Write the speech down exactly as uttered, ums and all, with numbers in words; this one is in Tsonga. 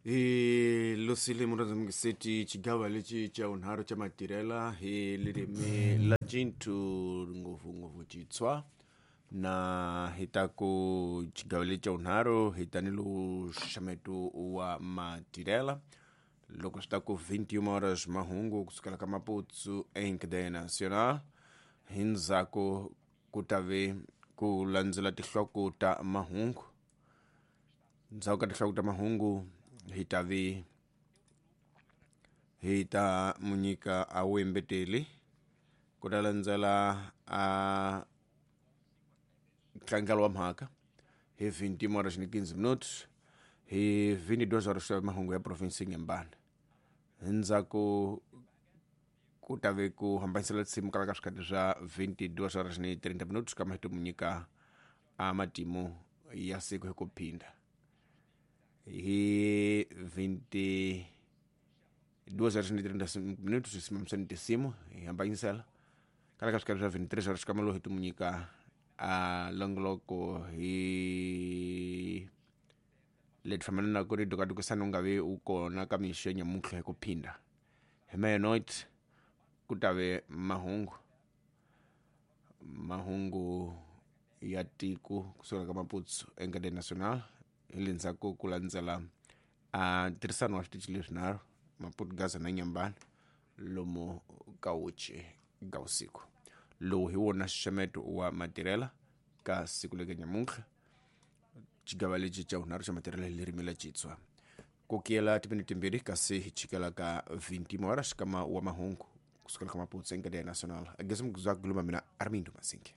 Hi losile murazamukiseti xigava lexi xa vunharhu xa matirhela hi ririmi la Cintu ngopfungopfu Xitswa na hi ta ku xigava lexi xa vunharhu hi ta ni lowu xaxameto wa matirhela loko swi ta ku vinte e uma horas mahungu kusukela ka Maputo em cadeia nacional. Hi ndzhaku ku ta ve ku landzela tinhloko ta mahungu. Ndzhaku ka tinhloko ta mahungu hi ta ve hi ta munyika a wembeteli ku ta landzela a ntlangelo wa mhaka hi vinte horas ni quinze minutos. Hi vinte e duas horas mahungu ya province Inhambane. Hi ndzhaku ku ta ve ku hambanisela tinsimu kala ka swikhati swa vinte e duas horas ni trinta minutos kama hi to munyika a matimu ya siku hi ku phinda. Hi vinte e duas horas ni trinta minutos hi simamisani tinsimu hi hambanyisela kala ka swikhati swa vinte e três horas kama lowu hi to munyika a longoloko hi leti fambelanaku ni dukadukisana u nga vi u kona ka mixo ya nyamuntlha hi ku phinda. Hi meia-noite ku ta ve mahungu mahungu ya tiko kusukela ka Maputo em cadeia nacional. Hi le ndzhaku ku landzela a ntirhisano wa switichi leswinharhu, Maputo, Gaza na Inhambane, lomu ka uchi ka vusiku. Lowu hi wona xaxameto wa matirhela ka siku leka nyamuntlha, xigava lexi xa vunharhu xa matirhela hi ririmi la Xitswa. Ku kiyela timinete timbirhi kasi hi chikela ka vinte horas kama wa mahungu kusukela ka Maputo em cadeia nacional. Ageza mukuzwa kuluma mina Armindo Masinke.